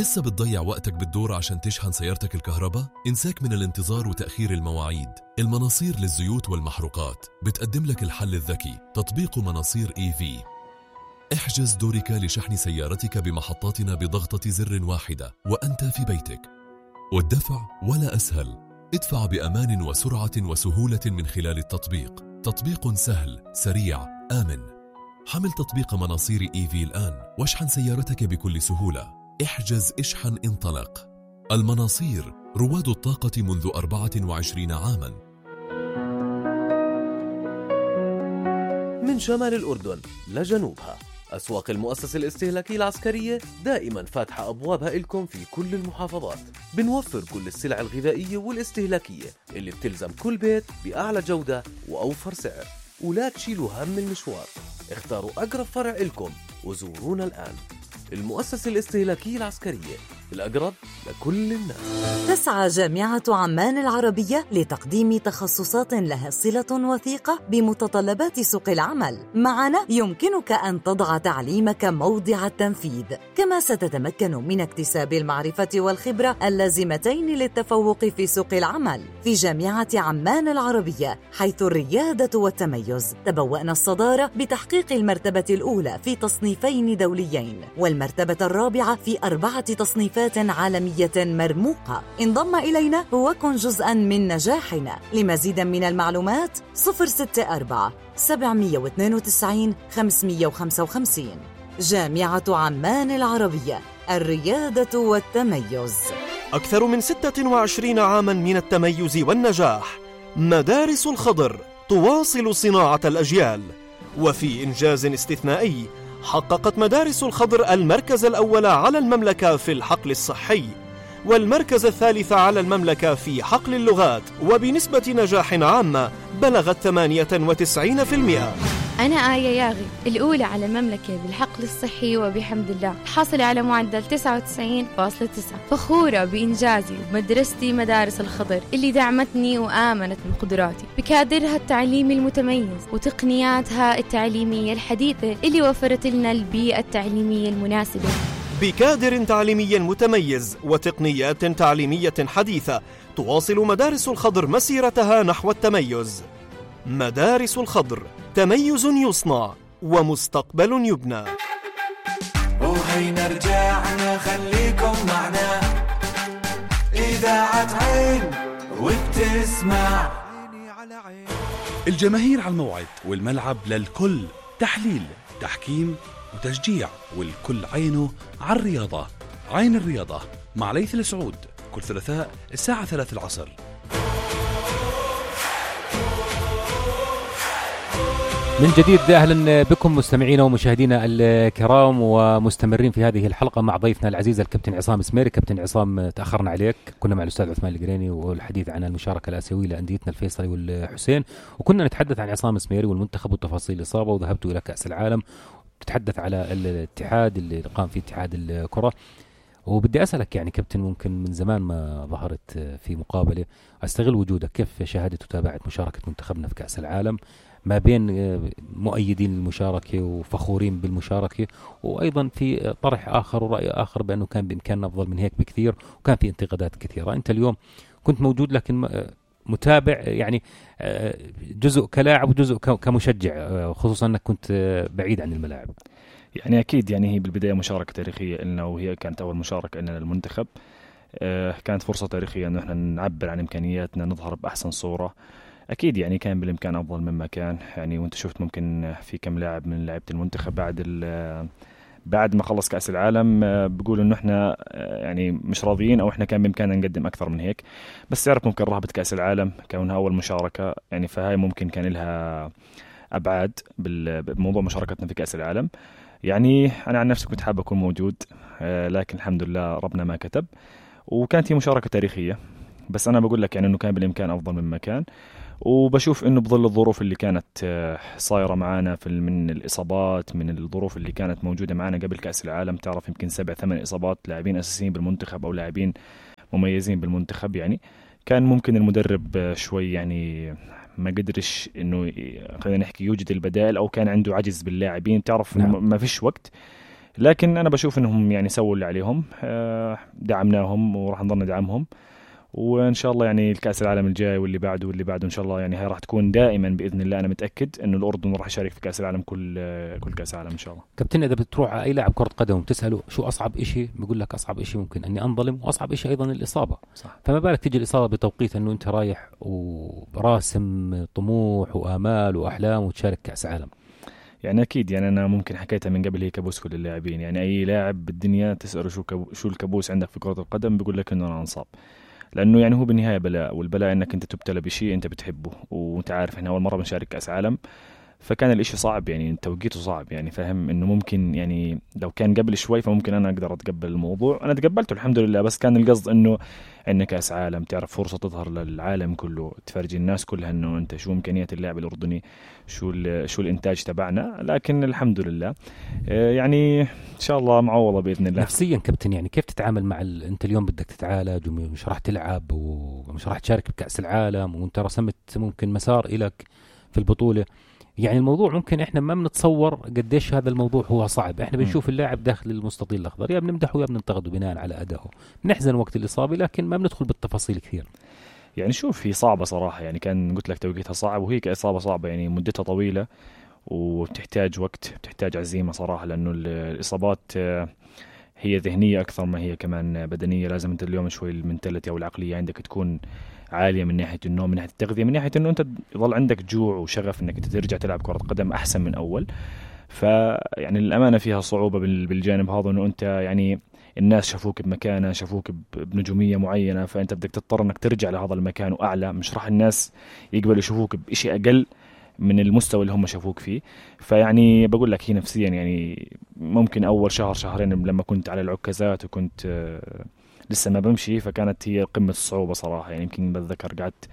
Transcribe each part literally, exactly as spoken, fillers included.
لسه بتضيع وقتك بالدور عشان تشحن سيارتك الكهرباء؟ انساك من الانتظار وتأخير المواعيد. المناصير للزيوت والمحروقات بتقدم لك الحل الذكي، تطبيق مناصير إي في. احجز دورك لشحن سيارتك بمحطاتنا بضغطة زر واحدة وأنت في بيتك. والدفع ولا أسهل، ادفع بأمان وسرعة وسهولة من خلال التطبيق. تطبيق سهل، سريع، آمن. حمل تطبيق مناصير إي في الآن واشحن سيارتك بكل سهولة. احجز، اشحن، انطلق. المناصير، رواد الطاقة منذ أربعة وعشرين عاما. من شمال الأردن لجنوبها، أسواق المؤسسة الاستهلاكية العسكرية دائما فاتحة أبوابها إلكم في كل المحافظات. بنوفر كل السلع الغذائية والاستهلاكية اللي بتلزم كل بيت بأعلى جودة وأوفر سعر. ولا تشيلوا هم المشوار، اختاروا أقرب فرع إلكم وزورونا الآن. المؤسسة الاستهلاكية العسكرية، الأقرب لكل الناس. تسعى جامعة عمان العربية لتقديم تخصصات لها صلة وثيقة بمتطلبات سوق العمل. معنا يمكنك أن تضع تعليمك موضع التنفيذ، كما ستتمكن من اكتساب المعرفة والخبرة اللازمتين للتفوق في سوق العمل. في جامعة عمان العربية، حيث الريادة والتميز، تبوأنا الصدارة بتحقيق المرتبة الأولى في تصنيفين دوليين، والمرتبة الرابعة في أربعة تصنيفات عالمية مرموقة. انضم إلينا وكن جزءاً من نجاحنا. لمزيد من المعلومات صفر ستة أربعة سبعمية واثنين وتسعين خمسمية وخمسة وخمسين. جامعة عمان العربية، الريادة والتميز. أكثر من ستة وعشرين عاماً من التميز والنجاح. مدارس الخضر تواصل صناعة الأجيال. وفي إنجاز استثنائي، حققت مدارس الخضر المركز الأول على المملكة في الحقل الصحي، والمركز الثالث على المملكة في حقل اللغات، وبنسبة نجاح عامة بلغت ثمانية وتسعين بالمئة. أنا آية ياغي، الأولى على المملكة بالحقل الصحي وبحمد الله، حاصلة على معدل تسعة وتسعين فاصلة تسعة. فخورة بإنجازي ومدرستي مدارس الخضر اللي دعمتني وآمنت بقدراتي، بكادرها التعليمي المتميز وتقنياتها التعليمية الحديثة اللي وفرت لنا البيئة التعليمية المناسبة. بكادر تعليمي متميز وتقنيات تعليمية حديثة، تواصل مدارس الخضر مسيرتها نحو التميز. مدارس الخضر، تميز يصنع ومستقبل يبنى. وهينا رجعنا، خليكم معنا، إذاعة عين وبتسمع. الجماهير على الموعد، والملعب للكل، تحليل، تحكيم وتشجيع، والكل عينه على الرياضة. عين الرياضة مع ليث السعود، كل ثلاثاء الساعة ثلاث العصر. من جديد أهلا بكم مستمعينا ومشاهدينا الكرام، ومستمرين في هذه الحلقة مع ضيفنا العزيز الكابتن عصام سميري. كابتن عصام، تأخرنا عليك، كنا مع الأستاذ عثمان القريني والحديث عن المشاركة الآسيوية لأنديتنا الفيصلي والحسين، وكنا نتحدث عن عصام سميري والمنتخب وتفاصيل الإصابة، وذهبت إلى كأس العالم تتحدث على الاتحاد اللي قام فيه اتحاد الكرة. وبدي أسألك يعني كابتن، ممكن من زمان ما ظهرت في مقابلة، أستغل وجودك، كيف شاهدت وتابعت مشاركة منتخبنا في كأس العالم، ما بين مؤيدين المشاركة وفخورين بالمشاركة، وأيضا في طرح آخر ورأي آخر بأنه كان بإمكاننا أفضل من هيك بكثير، وكان في انتقادات كثيرة. أنت اليوم كنت موجود لكن متابع، يعني جزء كلاعب وجزء كمشجع، خصوصا أنك كنت بعيد عن الملاعب. يعني أكيد، يعني هي بالبداية مشاركة تاريخية لنا، وهي كانت أول مشاركة لنا للمنتخب. كانت فرصة تاريخية أنه إحنا نعبر عن إمكانياتنا، نظهر بأحسن صورة. أكيد يعني كان بالإمكان أفضل مما كان، يعني وأنت شفت ممكن في كم لاعب من لاعبة المنتخب بعد بعد ما خلص كأس العالم بيقولوا إنه إحنا يعني مش راضيين، أو إحنا كان بإمكاننا نقدم أكثر من هيك. بس تعرف ممكن رهبة كأس العالم كونها أول مشاركة، يعني فهاي ممكن كان لها أبعاد بموضوع مشاركتنا في كأس العالم. يعني أنا عن نفسي كنت حابب أكون موجود، لكن الحمد لله ربنا ما كتب، وكانت هي مشاركة تاريخية. بس أنا بقول لك يعني إنه كان بالإمكان أفضل مما كان، وبشوف إنه بظل الظروف اللي كانت صايرة معانا في من الإصابات، من الظروف اللي كانت موجودة معانا قبل كأس العالم، تعرف يمكن سبع ثمان إصابات لاعبين أساسيين بالمنتخب أو لاعبين مميزين بالمنتخب، يعني كان ممكن المدرب شوي يعني ما قدرش إنه خلينا نحكي يوجد البدائل، أو كان عنده عجز باللاعبين، تعرف نعم. ما فيش وقت لكن أنا بشوف إنهم يعني سووا اللي عليهم، دعمناهم وراح نضل ندعمهم، وإن شاء الله يعني الكأس العالم الجاي واللي بعده واللي بعده إن شاء الله يعني هاي راح تكون دائما بإذن الله. أنا متأكد إنه الأردن راح يشارك في كأس العالم كل كل كأس العالم إن شاء الله. كابتن إذا بتروح على أي لاعب كرة قدم وتسأله شو أصعب إشي بيقول لك أصعب إشي ممكن أني أنظلم، وأصعب إشي أيضا الإصابة. صح. فما بالك تيجي الإصابة بتوقيت إنه أنت رايح وراسم طموح وآمال وأحلام وتشارك كأس عالم. يعني أكيد يعني أنا ممكن حكيتها من قبل، هي كابوس كل اللاعبين. يعني أي لاعب بالدنيا تسأله شو كابو شو الكابوس عندك في كرة القدم بيقول لك إنه أنا انصاب، لأنه يعني هو بالنهاية بلاء، والبلاء إنك أنت تبتلى بشيء أنت بتحبه. وأنت عارف إحنا أول مرة بنشارك كأس عالم، فكان الإشي صعب يعني توقيته صعب يعني فاهم. إنه ممكن يعني لو كان قبل شوي فممكن أنا أقدر أتقبل الموضوع. أنا تقبلته الحمد لله، بس كان القصد إنه إنك كأس عالم تعرف فرصة تظهر للعالم كله، تفرجي الناس كلها إنه أنت شو إمكانيات اللاعب الأردني، شو شو الإنتاج تبعنا. لكن الحمد لله يعني إن شاء الله معوضة بإذن الله. نفسيا كابتن يعني كيف تتعامل مع ال... أنت اليوم بدك تتعالج ومش راح تلعب ومش راح تشارك بكأس العالم، وأنت رسمت ممكن مسار إلك في البطولة. يعني الموضوع ممكن إحنا ما بنتصور قديش هذا الموضوع هو صعب. إحنا بنشوف اللاعب داخل المستطيل الأخضر يا بنمدحه يا بننتقده بناء على أدائه، بنحزن وقت الإصابة لكن ما بندخل بالتفاصيل كثير. يعني شوف هي صعبة صراحة، يعني كان قلت لك توقيتها صعب، وهي كإصابة صعبة يعني مدتها طويلة وبتحتاج وقت، بتحتاج عزيمة صراحة، لأنه الإصابات هي ذهنية أكثر ما هي كمان بدنية. لازم أنت اليوم شوي المنتاليتي أو العقلية عندك تكون عالية من ناحية النوم، من ناحية التغذية، من ناحية أنه أنت يظل عندك جوع وشغف أنك ترجع تلعب كرة قدم أحسن من أول. فيعني الأمانة فيها صعوبة بالجانب هذا، أنه أنت يعني الناس شافوك بمكانة، شافوك بنجومية معينة، فأنت بدك تضطر أنك ترجع لهذا المكان وأعلى. مش راح الناس يقبلوا يشوفوك بإشي أقل من المستوى اللي هم شافوك فيه. فيعني بقول لك هي نفسيا يعني ممكن أول شهر شهرين لما كنت على العكازات وكنت آه لسه ما بمشي، فكانت هي قمة الصعوبة صراحة. يعني يمكن بتذكر قعدت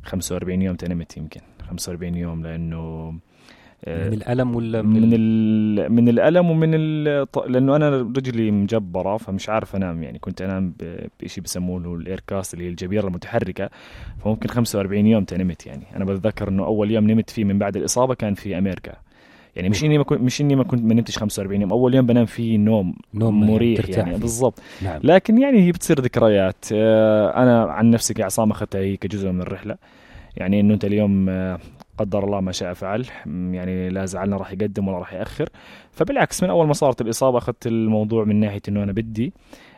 خمسة وأربعين يوم تنمت، يمكن خمسة وأربعين يوم، لأنه من الألم ولا من من, ال... من الألم ومن ال... لأنه أنا رجلي مجبرة فمش عارف أنام. يعني كنت أنام بشيء بسموه له الإيركاست اللي هي الجبيرة المتحركة، فممكن خمسة وأربعين يوم تنمت. يعني أنا بتذكر إنه أول يوم نمت فيه من بعد الإصابة كان في أمريكا. يعني مش إني ما كنت مش إني ما كنت ما نمتش خمسة وأربعين يوم، أول يوم بنام فيه نوم نوم مريح يعني بالضبط. نعم. لكن يعني هي بتصير ذكريات. أنا عن نفسي كعصام أخذتها هي كجزء من الرحلة. يعني إنه أنت اليوم قدر الله ما شاء فعل، يعني لا زعلنا راح يقدم ولا راح يأخر. فبالعكس من أول ما صارت الإصابة أخذت الموضوع من ناحية إنه أنا بدي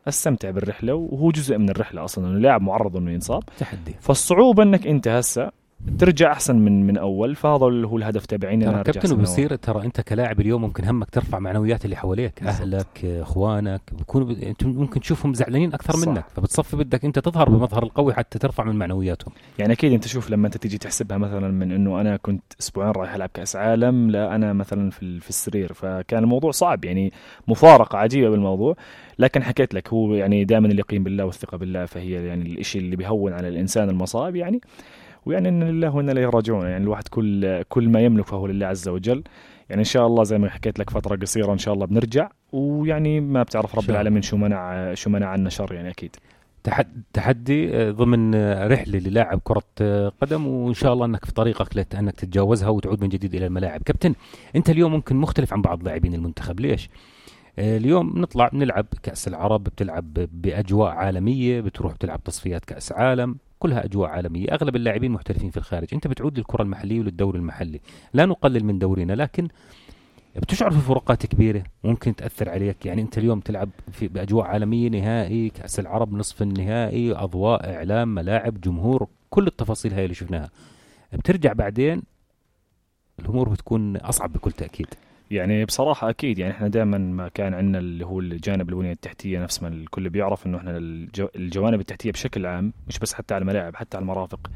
أستمتع بالرحلة، وهو جزء من الرحلة أصلاً، إنه اللاعب معرض إنه ينصاب تحدي. فالصعوبة إنك أنت هسه ترجع أحسن من من أول، فهذا هو الهدف تبعين. ترى كابتن وبصير ترى أنت كلاعب اليوم ممكن همك ترفع معنويات اللي حواليك، أهلك إخوانك بيكونوا ب... أنت ممكن تشوفهم زعلانين أكثر صح. منك، فبتصفي بدك أنت تظهر بمظهر القوي حتى ترفع من معنوياتهم. يعني أكيد أنت شوف لما أنت تيجي تحسبها مثلا من إنه أنا كنت أسبوعين رايح ألعب كأس عالم، لا أنا مثلا في في السرير، فكان الموضوع صعب يعني مفارقة عجيبة بالموضوع. لكن حكيت لك هو يعني دائما اليقين بالله والثقة بالله، فهي يعني الإشي اللي بيهون على الإنسان المصائب يعني. ويعني إن لله وإنا إليه راجعون، يعني الواحد كل كل ما يملك فهو لله عز وجل. يعني إن شاء الله زي ما حكيت لك فترة قصيرة إن شاء الله بنرجع، ويعني ما بتعرف رب العالمين شو منع شو منع عنا شر يعني أكيد. تحدي ضمن رحلة للاعب كرة قدم، وإن شاء الله أنك في طريقك لأنك تتجاوزها وتعود من جديد إلى الملاعب. كابتن أنت اليوم ممكن مختلف عن بعض لاعبين المنتخب، ليش؟ اليوم نطلع نلعب كأس العرب، بتلعب بأجواء عالمية، بتروح تلعب تصفيات كأس عالم، كلها أجواء عالمية، أغلب اللاعبين محترفين في الخارج. أنت بتعود للكرة المحلية وللدوري المحلي، لا نقلل من دورينا، لكن بتشعر في فروقات كبيرة ممكن تأثر عليك. يعني أنت اليوم تلعب في بأجواء عالمية، نهائي كأس العرب، نصف النهائي، أضواء، إعلام، ملاعب، جمهور، كل التفاصيل هاي اللي شفناها. بترجع بعدين الأمور بتكون أصعب بكل تأكيد. يعني بصراحة أكيد يعني إحنا دائما ما كان عندنا اللي هو الجانب البنية التحتية، نفس ما الكل بيعرف إنه إحنا الجو الجوانب التحتية بشكل عام، مش بس حتى على الملاعب حتى على المرافق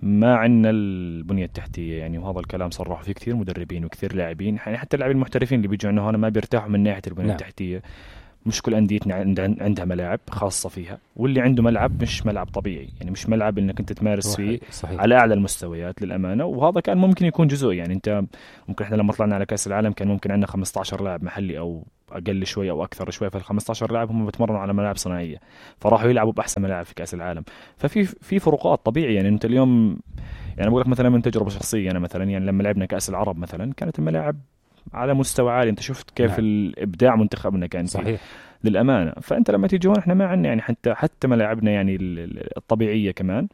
ما عندنا البنية التحتية يعني. وهذا الكلام صرحوا فيه كثير مدربين وكثير لاعبين، يعني حتى اللاعبين المحترفين اللي بيجوا عندنا هنا ما بيرتاحوا من ناحية البنية نعم. التحتية. مش كل أنديتنا عندها ملاعب خاصة فيها، واللي عنده ملعب مش ملعب طبيعي، يعني مش ملعب إنك أنت تمارس فيه صحيح. على أعلى المستويات للأمانة. وهذا كان ممكن يكون جزء، يعني أنت ممكن إحنا لما طلعنا على كأس العالم كان ممكن عندنا خمسة عشر لاعب محلي أو أقل شوي أو أكثر شوي، فالخمسة عشر لاعب هم بتمرنوا على ملاعب صناعية، فراحوا يلعبوا بأحسن ملاعب في كأس العالم. ففي في فروقات طبيعية. يعني أنت اليوم يعني بقول لك مثلا من تجربة شخصية، أنا مثلا يعني لما لعبنا كأس العرب مثلا كانت الملاعب على مستوى عالي. انت شفت كيف نعم. الابداع منتخبنا كان صحيح فيه. للامانه. فانت لما تيجي هون احنا ما عندنا يعني حتى حتى ملاعبنا يعني الطبيعيه كمان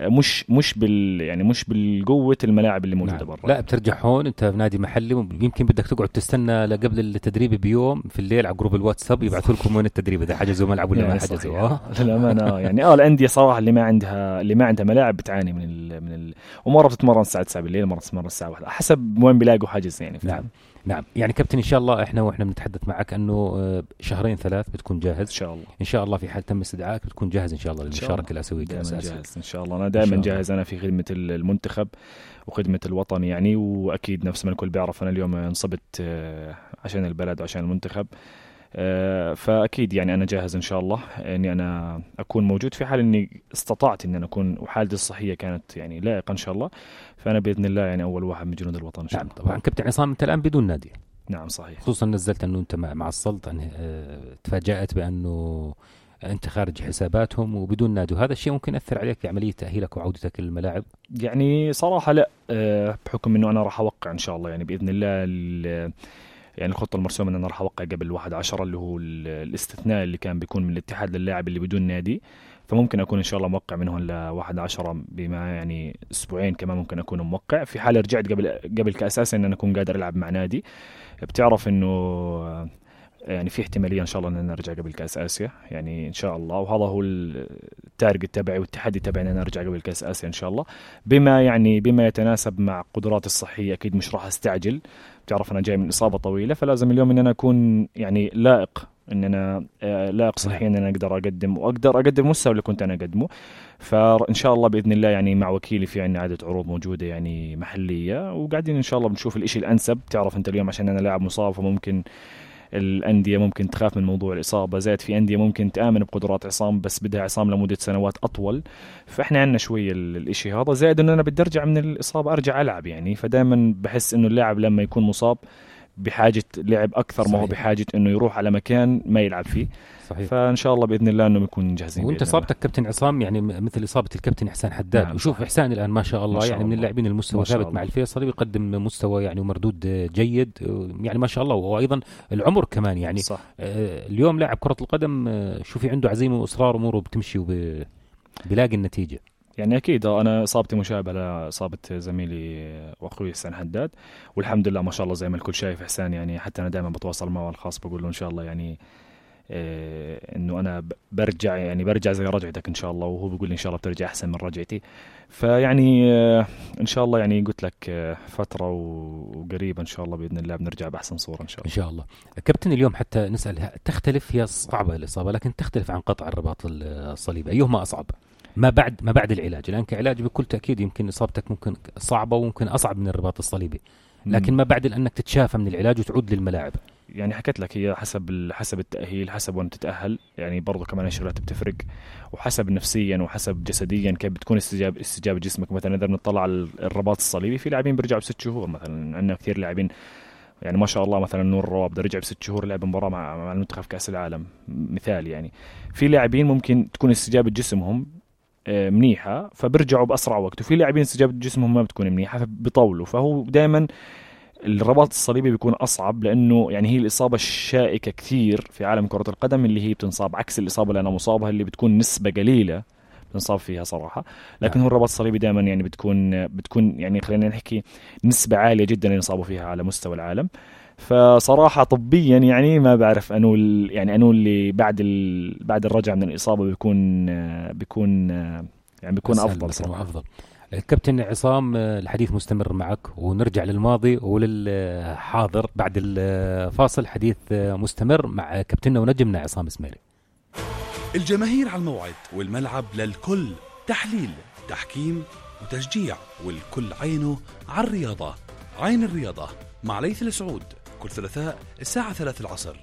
مش مش بال يعني مش بالقوه الملاعب اللي موجوده نعم. برا. لا بترجع هون انت في نادي محلي يمكن بدك تقعد تستنى لقبل التدريب بيوم في الليل على جروب الواتساب يبعثوا لكم وين التدريب اذا حجزوا ملعب ولا يعني ما حجزوا. اه للامانه يعني اه الانديه صراحه اللي ما عندها اللي ما عندها ملاعب بتعاني من ال من ال ومره بتتمرن الساعه تسعة بالليل مره تتمرن الساعه واحدة حسب وين بيلاقوا حجز يعني. نعم نعم يعني كابتن ان شاء الله احنا واحنا بنتحدث معك انه شهرين ثلاث بتكون جاهز ان شاء الله. ان شاء الله في حال تم استدعائك بتكون جاهز ان شاء الله للمشاركه الاسيويه الاساسيه ان شاء الله. انا دائما جاهز انا في خدمه المنتخب وخدمه الوطن يعني. واكيد نفس ما الكل بيعرف انا اليوم انصبت عشان البلد وعشان المنتخب فاكيد يعني انا جاهز ان شاء الله اني انا اكون موجود في حال اني استطعت ان انا اكون وحالتي الصحيه كانت يعني لائقه ان شاء الله. فانا باذن الله يعني اول واحد من جنود الوطن ان شاء الله. نعم طبعا كابتن عصام انت الان بدون نادي. نعم صحيح. خصوصا نزلت انه انت مع السلطه أنه تفاجات بانه انت خارج حساباتهم وبدون نادي وهذا الشيء ممكن ياثر عليك في عمليه تاهيلك وعودتك للملاعب. يعني صراحه لا بحكم انه انا راح اوقع ان شاء الله يعني باذن الله يعني الخطة المرسومة أن أنا راح أوقع قبل واحد عشرة اللي هو الاستثناء اللي كان بيكون من الاتحاد للاعب اللي بدون نادي. فممكن أكون إن شاء الله موقع منهم لواحد عشرة بما يعني أسبوعين كمان ممكن أكون موقع في حال رجعت قبل قبل كأساسا أن أنا أكون قادر ألعب مع نادي. بتعرف إنه يعني في احتمالية إن شاء الله أن أنا أرجع قبل كأس آسيا يعني إن شاء الله. وهذا هو التارجت تبعي والتحدي تبعي أن أنا أرجع قبل كأس آسيا إن شاء الله بما يعني بما يتناسب مع قدراتي الصحية. أكيد مش راح أستعجل. بتعرف أنا جاي من إصابة طويلة فلازم اليوم إن أنا أكون يعني لائق إن أنا لائق صحيا إن أنا أقدر أقدم وأقدر أقدم المستوى اللي كنت أنا أقدمه. فإن شاء الله بإذن الله يعني مع وكيلي في عنا عدة عروض موجودة يعني محلية وقاعدين إن شاء الله بنشوف الإشي الأنسب. تعرف أنت اليوم عشان أنا لاعب مصاب فممكن الأندية ممكن تخاف من موضوع الإصابة زائد في أندية ممكن تآمن بقدرات عصام بس بدها عصام لمدة سنوات أطول. فإحنا عنا شوية الإشي هذا زائد أنه أنا بدي أرجع من الإصابة أرجع ألعب يعني. فدائما بحس أنه اللاعب لما يكون مصاب بحاجة لعب أكثر صحيح. ما هو بحاجة أنه يروح على مكان ما يلعب فيه صحيح. فإن شاء الله بإذن الله أنه يكون جاهزين. وأنت إصابتك كابتن عصام يعني مثل إصابة الكابتن إحسان حداد نعم. وشوف إحسان الآن ما شاء الله ما شاء يعني الله. من اللاعبين المستوى ثابت مع الفيصلي بيقدم مستوى يعني ومردود جيد يعني ما شاء الله. وأيضا العمر كمان يعني صح. آه اليوم لاعب كرة القدم آه شوفي عنده عزيمة وإصرار أموره بتمشي وبيلاقي النتيجة يعني. أكيد أنا إصابتي مشابهة لإصابة زميلي وأخوي إحسان حداد والحمد لله ما شاء الله زي ما الكل شايف إحسان يعني. حتى أنا دائما بتواصل معه الخاص بقول له إن شاء الله يعني إيه إنه أنا برجع يعني برجع زي رجعتك إن شاء الله وهو بيقول لي إن شاء الله بترجع أحسن من رجعتي. فيعني إيه إن شاء الله يعني قلت لك إيه فترة وقريبة إن شاء الله بإذن الله بنرجع بأحسن صورة إن شاء الله. إن شاء الله. كابتن اليوم حتى نسأل تختلف هي صعبة الإصابة لكن تختلف عن قطع الرباط الصليبي أيهما أصعب؟ ما بعد ما بعد العلاج الآن كعلاج بكل تأكيد يمكن إصابتك ممكن صعبة وممكن أصعب من الرباط الصليبي لكن ما بعد لأنك تتشافى من العلاج وتعود للملاعب. يعني حكيت لك هي حسب حسب التأهيل حسب وين تتأهل يعني برضو كمان الشغلات بتفرق وحسب نفسيا وحسب جسديا كيف بتكون استجابة استجابة جسمك. مثلا إذا نطلع على الرباط الصليبي في لاعبين بيرجعوا بست شهور مثلا. عندنا كثير لاعبين يعني ما شاء الله مثلا نور الرواب رجع بست شهور لعب مباراة مع مع المنتخب كأس العالم مثال يعني. في لاعبين ممكن تكون استجابة جسمهم منيحة فبرجعوا بأسرع وقت وفي لاعبين استجابة جسمهم ما بتكون منيحة فبيطولوا. فهو دائما الرباط الصليبي بيكون أصعب لأنه يعني هي الإصابة الشائكة كثير في عالم كرة القدم اللي هي بتنصاب عكس الإصابة اللي أنا مصابها اللي بتكون نسبة قليلة بنصاب فيها صراحة. لكن هو الرباط الصليبي دائما يعني بتكون بتكون يعني خلينا نحكي نسبة عالية جدا اللي ينصابوا فيها على مستوى العالم. فصراحة طبيا يعني ما بعرف أنو يعني أنو اللي بعد بعد الرجعة من الإصابة بيكون بيكون يعني بيكون أفضل صراحة. أفضل. الكابتن عصام الحديث مستمر معك ونرجع للماضي وللحاضر بعد الفاصل. حديث مستمر مع كابتننا ونجمنا عصام اسماعيلي. الجماهير على الموعد والملعب للكل. تحليل تحكيم وتشجيع والكل عينه على الرياضة. عين الرياضة مع ليث السعود كل ثلاثاء الساعة ثلاثة العصر